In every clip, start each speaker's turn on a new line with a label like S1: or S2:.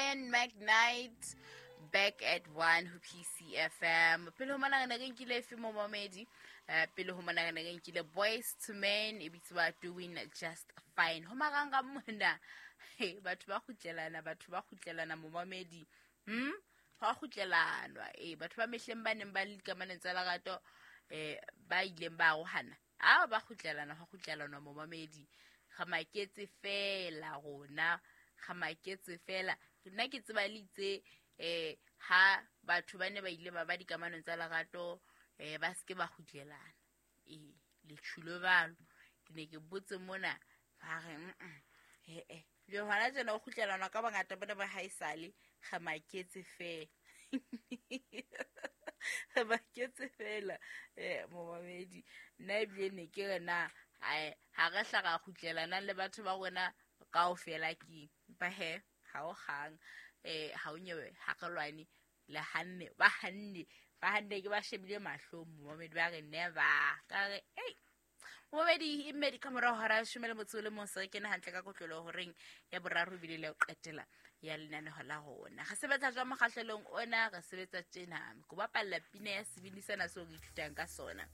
S1: Brian McKnight, Back at One ho PCFM. Pele ho mona re ne re nkile efe momamedi? Pele ho mona re ne re nkile Boys to Men, e bitswa Doing Just Fine. Ho maranga mona, he, batho ba kgutlelana, batho ba kgutlelana momamedi. Ho a kgutlelanwa. Batho ba mehleng ba neng ba le dikamanong tsa lerato, ba ileng ba arohana. A ba kgutlelana, ho kgutlelanwa momamedi. Ga maketse fela rona, ga maketse fela. Nna ke tseba le itse, ha batho ba ne ba ile ba ba dikamanong tsa lerato, ba seke ba kgutlelana. Le tjhulo balo. Ke ne ke botse mona, ba re, he-eh. Le hona tjena ho kgutlelanwa ka bongata bona ba haesale, ga maketse fela. Ga maketse fela, momamedi. Nna ebile ne ke re na, ha re hla ra kgutlelanang le batho ba rona kaofela keng. Empa he, ha o kgang, ha o nyewe, ha re lwane, le hanne, ba hanne, ba hanne ke ba shebile mahlong, momamedi ba re never. Ka re, ei, momamedi, e mmedi ka morao hora ya leshome le motso o le mong, se re kene hantle ka kotlolo horeng ya boraro ebile le ya ho qetela ya lenaneho la rona. Re sebetsa jwang mokgahlelong ona? Re sebetsa tjena, ko bapalla pina ya sebini sena seo re ithutang ka sona.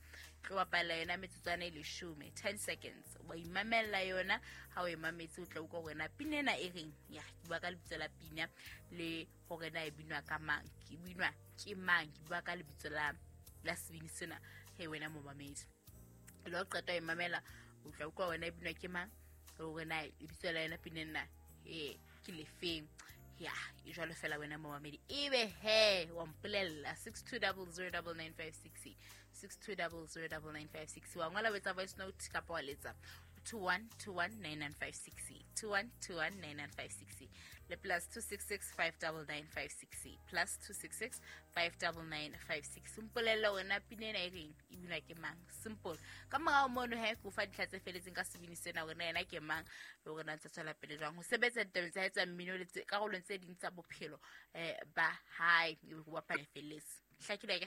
S1: Tlo bapalla yona metsotswana e leshome, 10 seconds. Wa imamella yona, ha o e mametse o tla utlwa hore na pina ena e reng. Ya, ke bua ka lebitso la pina le hore na e binwa ka mang, ke binwa ke mang, ke bua ka lebitso la sebini sena. He wena momamedi, le ho qeta ho e mamela, o tla utlwa wena e binwa ke mang, le hore na lebitso la yona pina ena, ke lefeng. Ya, e jwalo fela wena momamedi. Ebe he, wa mpolella six two double zero double nine five six, six two double zero double nine five six. Wa ngola o etsa voice note kapa wa letsa 21219956, 21219956, le plus two six six five double nine five six, plus two six six five double nine five six. Mpolelle wena pina ena e reng, e binwa ke mang? Simple. Ka morao mono he, ke o fa dintlha tse feletseng ka sebini sena, hore na yena ke mang, le hore na ntse tswela pele jwang ho sebetsa ditabeng tsa hae tsa mmino le karolong tse ding tsa bophelo, ba hae. Ebe ke bapala felletse. Hlakile ke?